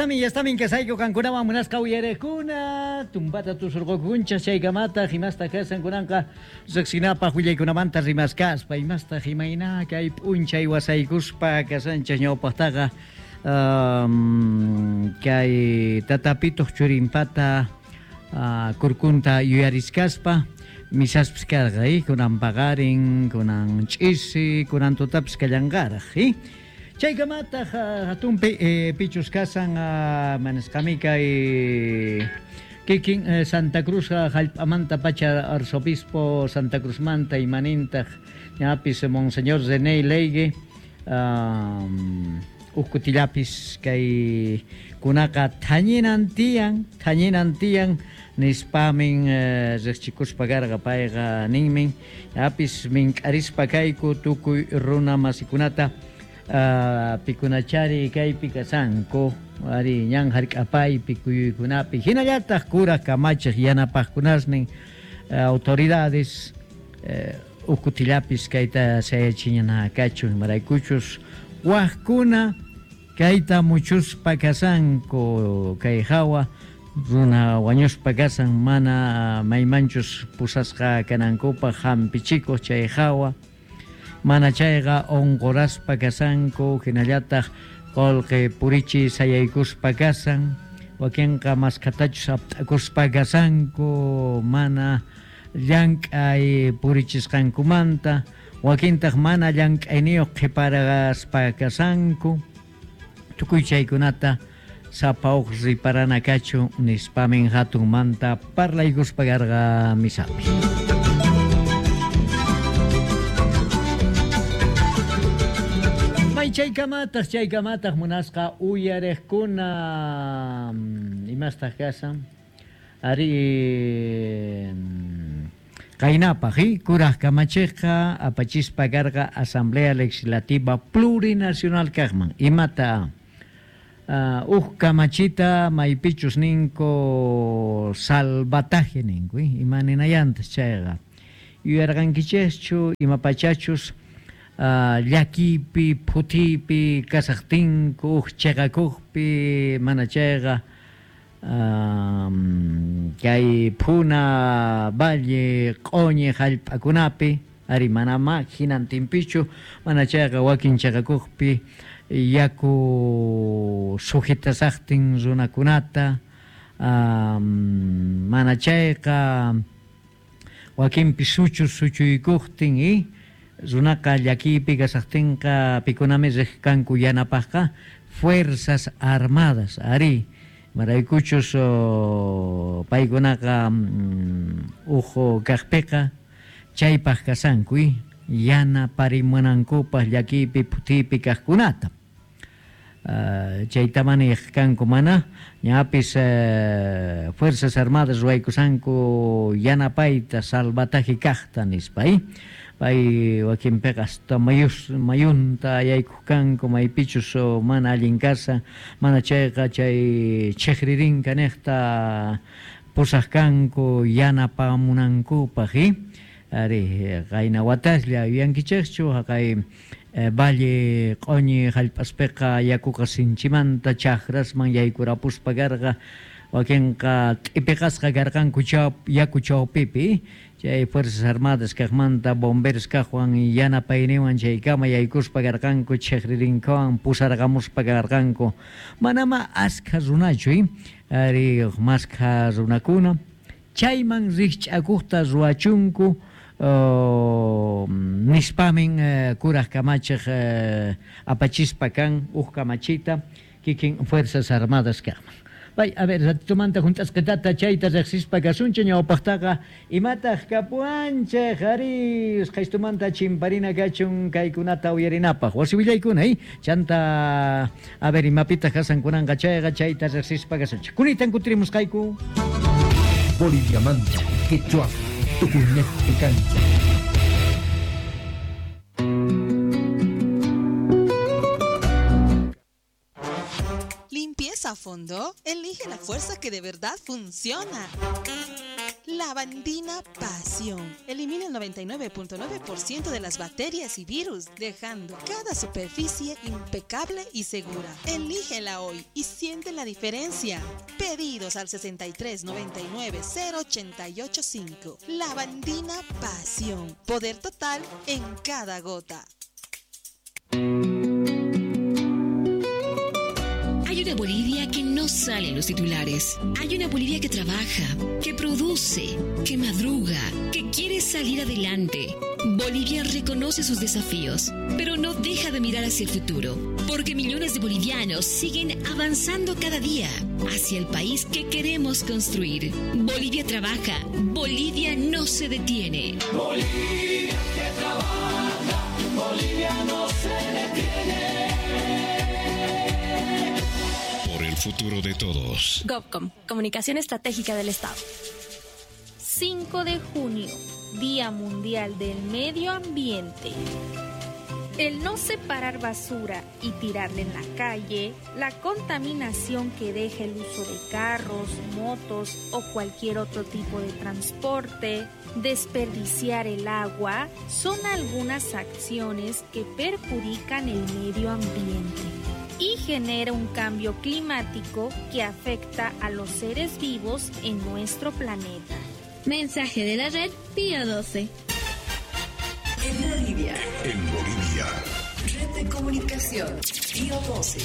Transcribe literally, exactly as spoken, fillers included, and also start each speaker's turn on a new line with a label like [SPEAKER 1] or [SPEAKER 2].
[SPEAKER 1] Yastamin, yastamin kasayku qankunawan munasqa uyarekuna, tumpata tusurqukunchas chaykamataq imastaq kasan kunanqa riqsinapaq willaykunamanta rimaskaspa, imastaq imayna kay p'unchay wasaykuspa kasanchas ñawpaqtaqa um, kay tatapituq churinpata uh, kurkunta yuyariskaspa misaspis karqa, eh? Kunan paqarin, kunan ch'isi, kunan tutapis kallanqaraq, eh? Chaykamataq hatunpi eh, pichus kasan uh, manasqami kay kikin eh, Santa Cruz hallp'amanta pacha arzobispo Santa Cruzmanta imanintaq ñapis Monseñor René Leigue um, ukkutillapis kay kunaqa thañinan tiyan, thañinan tiyan nispamin eh, riqchikuspa karqa payqa ninmin ñapis mink'arispa kayku tukuy runa masikunata Uh, pikunachari kaypi kasanku ari ñan hark'apaypi kuyuykunapi hinallataq kuraq kamachiq yanapaqkunasnin uh, autoridades uh, ukkutillapis kayta sayachiñana kachun imaraykuchus waqkuna kayta muchuspa kasanku kay hawa runa wañuspa kasan mana maymanchus pusasqa kanankupaq hampichikuq chay hawa mana chayqa unquraspa kasanku hinallataq qullqi purichi sayaykuspa kasan wakinqa maskhatachus apt'akuspa kasanku mana llank'ay purichisqankumanta wakintaq mana llank'ayniyuq qhiparaspa kasanku tukuy chaykunata sapa uq riparana kachu nispamin hatunmanta parlaykuspa karqa misapi. Chaykamataq, chaykamataq munasqa uyariqkuna imastaq kasan ari qaynapaq kuraq kamachiqqa apachispa karqa Asamblea Legislativa Plurinacional kaqman imata uh, uj kamachita maypichus ninku salvataje ninku ima ninayantas chayqa yuyarqankichikchu imapachachus Uh, llakipi, phutipi, kasaqtinku, uqchaqakuqpi, mana chayqa um, kay phuna, valle, q'uñi hallp'akunapi, ari manama hinantinpichu, mana chayqa wakin chaqakuqpi yaku sujetasaqtin runakunata, um, mana chayqa wakinpi suchu suchuykuqtin y runaqa llakipi kasaqtinqa pikunami riqkanku yanapaqqa Fuerzas Armadas ari maraykuchus oh, paykunaqa mm, uhu kaqpiqa chaypaq kasanku yanaparimunankupaq llakipi phutipi kaqkunata uh, chaytamani kanku mana ñapis uh, Fuerzas Armadas ruwaykusanku yanapayta salvataje kaqta nispa eh? Pay wakinpiqa hasta mayus mayunta yaykuq kanku maypichus mana allin kasa mana chayqa chay chikririnka niqta pusaq kanku yanapamunankupaq eh? Ari qayna wataslla yuyankichikchu haqay eh, valle q'uñi hallp'aspiqa yakuqa sinchimanta chakrasman yaykurapuspa karqa wakinqa t'ipiqasqa karqanku yaku chawpipi chay Fuerzas Armadas kaqmanta bomberos kaqwan yanapayniwan chaykama yaykuspa karqanku chikririnkawan pusarqamuspa karqanku manama askha runachu eh? Ari maskha runakuna chayman rikch'akuqta ruwachunku uh, nispamin uh, kuraq kamachiq uh, apachispa kan uj kamachita kikin Fuerzas Armadas kaqman. Bay, a ver, ratitumanta junt'asqitata chayta riqsispa kasunchik ñawpaqtaqa imataq kapuanchik ari usqhaystumanta chimparina kachun kaykunata uyarinapaq wasi willaykuna eh? Chanta a ver imapitaq kasankunanqa chayqa chayta riqsispa kasunchik kunitan kutirimusqayku
[SPEAKER 2] Boliviamanta, Quechua, Tukuñejpi kancha.
[SPEAKER 3] Limpieza a fondo, elige la fuerza que de verdad funciona. Lavandina Pasión. Elimina el noventa y nueve punto nueve por ciento de las bacterias y virus, dejando cada superficie impecable y segura. Elígela hoy y siente la diferencia. Pedidos al sesenta y tres noventa y nueve cero ochenta y ocho cinco. Lavandina Pasión. Poder total en cada gota.
[SPEAKER 4] Hay una Bolivia que no sale en los titulares. Hay una Bolivia que trabaja, que produce, que madruga, que quiere salir adelante. Bolivia reconoce sus desafíos, pero no deja de mirar hacia el futuro, porque millones de bolivianos siguen avanzando cada día hacia el país que queremos construir. Bolivia trabaja, Bolivia no se detiene.
[SPEAKER 5] Bolivia que trabaja, Bolivia no se detiene.
[SPEAKER 6] Por el futuro de todos.
[SPEAKER 7] GovCom, Comunicación Estratégica del Estado.
[SPEAKER 8] cinco de junio, Día Mundial del Medio Ambiente. El no separar basura y tirarla en la calle, la contaminación que deja el uso de carros, motos o cualquier otro tipo de transporte, desperdiciar el agua, son algunas acciones que perjudican el medio ambiente y genera un cambio climático que afecta a los seres vivos en nuestro planeta.
[SPEAKER 9] Mensaje de la red Pío doce.
[SPEAKER 10] En Bolivia.
[SPEAKER 6] En Bolivia.
[SPEAKER 10] Red de Comunicación Pío doce.